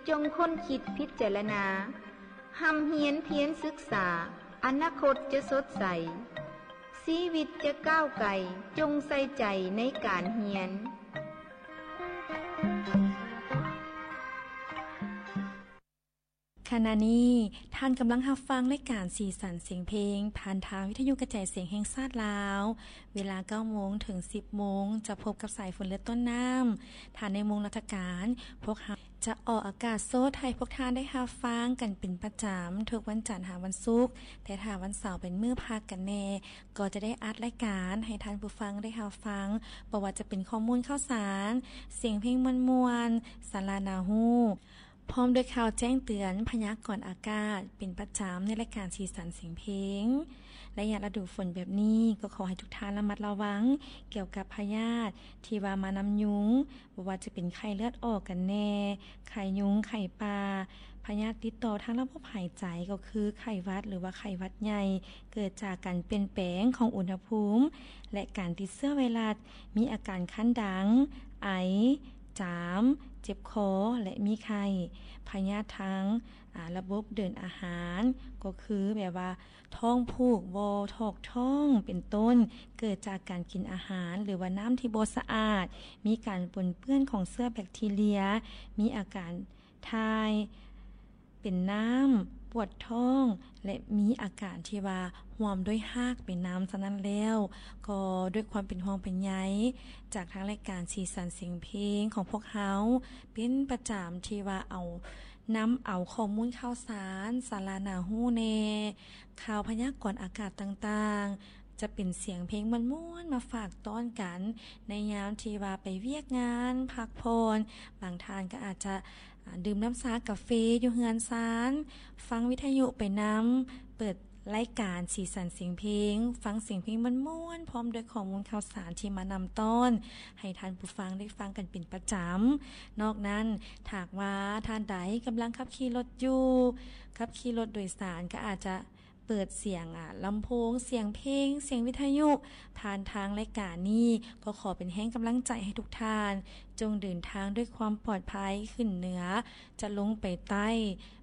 ຈົ່ງຄົ້ນຄິດພິຈາລະນາ, ຮ່ຳຮຽນພຽນສຶກສາ, ອະນາຄົດຈະສົດໃສ, ຊີວິດຈະກ້າວໄກ, ຈົ່ງໃສ່ໃຈໃນການຮຽນ. ຂະນະນີ້ທ່ານກຳລັງຮັບຟັງລາຍການສີສັນສຽງເພງ ຜ່ານທາງວິທະຍຸກະຈາຍສຽງແຫ່ງຊາດລາວ. ເວລາເກົ້າໂມງເຖິງສິບໂມງ ຈະພົບກັບສາຍຝົນ ແລະ ຕົ້ນນ້ຳ. ຖ້າໃນໂມງລາຊະການ, ພວກເຮົາຈະອອກອາກາດສົດໃຫ້ພວກທ່ານໄດ້ຮັບຟັງກັນເປັນປະຈຳ ທຸກວັນຈັນຫາວັນສຸກ, ແຕ່ຖ້າວັນເສົາເປັນມື້ພັກກັນແດ່, ກໍຈະໄດ້ອັດລາຍການໃຫ້ທ່ານຜູ້ຟັງໄດ້ຮັບຟັງ, ບໍ່ວ່າຈະເປັນຂໍ້ມູນຂ່າວສານ, ສຽງເພງມ່ວນໆ, ສາລະໜ້າຮູ້, ພ້ອມດ້ວຍຂ່າວແຈ້ງເຕືອນພະຍາກອນອາກາດເປັນປະຈຳໃນລາຍການສີສັນສຽງເພງ. ໄລຍະລະດູຝົນແບບນີ້ ກໍຂໍໃຫ້ທຸກທ່ານລະມັດລະວັງກ່ຽວກັບພະຍາດທີ່ວ່າມານຳຍຸງ, ບໍ່ວ່າຈະເປັນໄຂ້ເລືອດອອກກັນແດ່, ໄຂ້ຍຸງ, ໄຂ້ປ່າ, ພະຍາດຕິດຕໍ່ທາງລະບົບຫາຍໃຈ ກໍຄືໄຂ້ຫວັດ ຫຼືວ່າໄຂ້ຫວັດໃຫຍ່ ເກີດຈາກການປ່ຽນແປງຂອງອຸນຫະພູມ ແລະ ການຕິດເຊື້ອໄວຣັສ, ມີອາການຄັນດັງ, ໄອ, ຈາມ, ເຈັບຄໍ ແລະ ມີໄຂ້. ພະຍາດທາງ ອາ ລະບົບເດີນອາຫານ ກໍຄືແບບວ່າທ້ອງຜູກບໍ່ຖອກທ້ອງເປັນຕົ້ນ ເກີດຈາກການກິນອາຫານ ຫຼືວ່ານ້ຳທີ່ບໍ່ສະອາດ, ມີການປົນເປື້ອນຂອງເຊື້ອແບັກທີເຣຍ, ມີອາການຖ່າຍເປັນນ້ຳ, ປວດທ້ອງ ແລະ ມີອາການທີ່ວ່າຮ່ວມດ້ວຍຮາກເປັນນຳ. ສະນັ້ນແລ້ວ ກໍດ້ວຍຄວາມເປັນຫ່ວງເປັນໃຍຈາກທາງລາຍການສີສັນສຽງເພງຂອງພວກເຮົາເປັນປະຈຳ ທີ່ວ່າເອົາ ນຳເອົາຂໍ້ມູນຂ່າວສານ, ສາລະໜ້າຮູ້ແດ່, ຂ່າວພະຍາກອນອາກາດຕ່າງໆ, ຈະເປັນສຽງເພງມ່ວນໆ ມາຝາກຕ້ອນກັນ ໃນຍາມທີ່ວ່າໄປວຽກງານ, ພັກຜ່ອນ, ບາງທ່ານກໍອາດຈະ ອາ ດື່ມນ້ຳຊາກາເຟຢູ່ເຮືອນຊານ, ຟັງວິທະຍຸໄປນຳ, ເປີດ ລາຍການສີສັນສຽງເພງ, ຟັງສຽງເພງມ່ວນໆ ພ້ອມດ້ວຍຂໍ້ມູນຂ່າວສານທີ່ມານຳຕ້ອນ ໃຫ້ທ່ານຜູ້ຟັງໄດ້ຟັງກັນເປັນປະຈຳ. ນອກນັ້ນ, ຖ້າຫາກວ່າທ່ານໃດກຳລັງຂັບຂີ່ລົດຢູ່, ຂັບຂີ່ລົດໂດຍສານ ກໍອາດຈະເປີດສຽງ ອາ ລຳໂພງ, ສຽງເພງ, ສຽງວິທະຍຸ ຜ່ານທາງລາຍການນີ້, ກໍຂໍເປັນແຮງກຳລັງໃຈໃຫ້ທຸກທ່ານ ຈົ່ງເດີນທາງດ້ວຍຄວາມປອດໄພ, ຂຶ້ນເໜືອຈະລົງໄປໃຕ້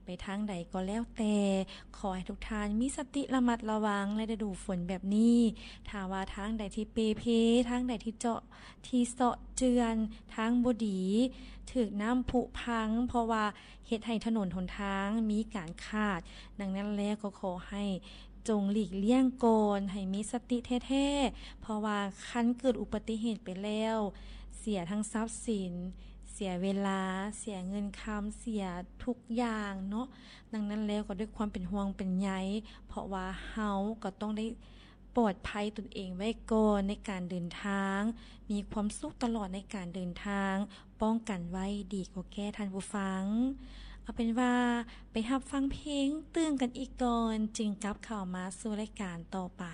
ໄປທາງໃດກໍແລ້ວແຕ່, ຂໍໃຫ້ທຸກທ່ານມີສະຕິລະມັດລະວັງໃນລະດູຝົນແບບນີ້. ຖ້າວ່າທາງໃດທີ່ເປ່ເພ, ທາງໃດທີ່ເຈາະທີ່ເຊາະເຈື່ອນ, ທາງບໍ່ດີ, ຖືກນ້ຳຜຸພັງ, ເພາະວ່າເຮັດໃຫ້ຖະໜົນຫົນທາງມີການຂາດ. ດັ່ງນັ້ນແລ້ວກໍຂໍໃຫ້ຈົ່ງຫຼີກລ່ຽງກ່ອນ, ໃຫ້ມີສະຕິແທ້ໆ, ເພາະວ່າຄັນເກີດອຸບັດຕິເຫດໄປແລ້ວ, ເສຍທັງຊັບສິນ, ເສຍເວລາ, ເສຍເງິນຄຳ, ເສຍທຸກຢ່າງເນາະ. ດັ່ງນັ້ນແລ້ວກໍດ້ວຍຄວາມເປັນຫ່ວງເປັນໃຍ, ເພາະວ່າເຮົາກໍຕ້ອງໄດ້ປອດໄພຕົນເອງໄວ້ກ່ອນໃນການເດີນທາງ, ມີຄວາມສຸກຕະຫຼອດໃນການເດີນທາງ, ປ້ອງກັນໄວ້ດີກວ່າແກ້, ທ່ານຜູ້ຟັງ. ເອົາເປັນວ່າໄປຮັບຟັງເພງຕື່ມກັນອີກກ່ອນ, ຈຶ່ງກັບເຂົ້າມາສູ່ລາຍການຕໍ່ໄປ.